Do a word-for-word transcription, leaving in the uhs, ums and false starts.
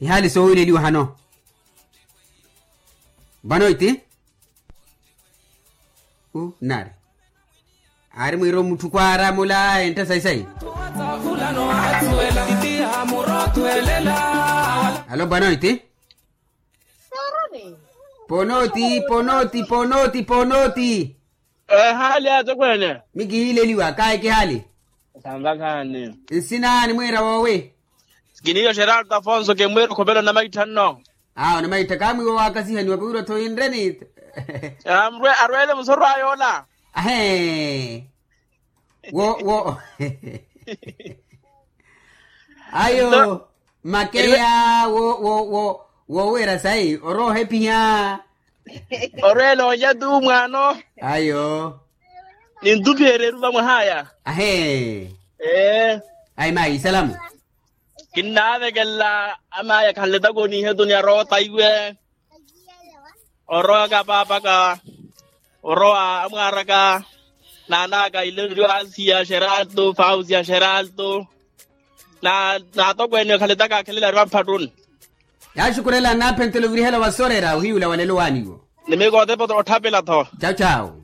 Ihaali soowileliwa hano. Vano iti u nari aari mwiiro mutthu kwaaramula entta sayi-sayi. Alo bwana iti. Ponoti ponoti ponoti ponoti. Ehaali atokweene. Mikihiileliwa kaayi kihaali. Sanvakhaani. Nsina nimwiira woowi? Kiniiyo xeralto afonso kimwiira okhopela onamaittha nno. Aa onamaittha kaamwiiwa waakasihaniwa kuwira othoinreni. Arweele musoro aya ola. Ahee. Wo wo. Ayo makeya wo wo wo. Wowira sayi orowa ohepiha. Orowa olonya tu mwaano. Ayo. Nintuphereru vamwahaya. Ahee. Ee. Ayi mayi isalamu. Kinnaavekelela amaya khanletaka oniihetu ni arowa otaiwe. Orowaka paapaka orowa amwaaraka. Naanaka ilerio asiya xeralto fausiya xeralto. Na naatokweene khaletaka akhelela ariwa mphattuni. Yaaxukurela nnaaphentela ovirihela wasorera ohiyula walelo waaniwo. Nimikotepa otthapela-tho. Chau chau.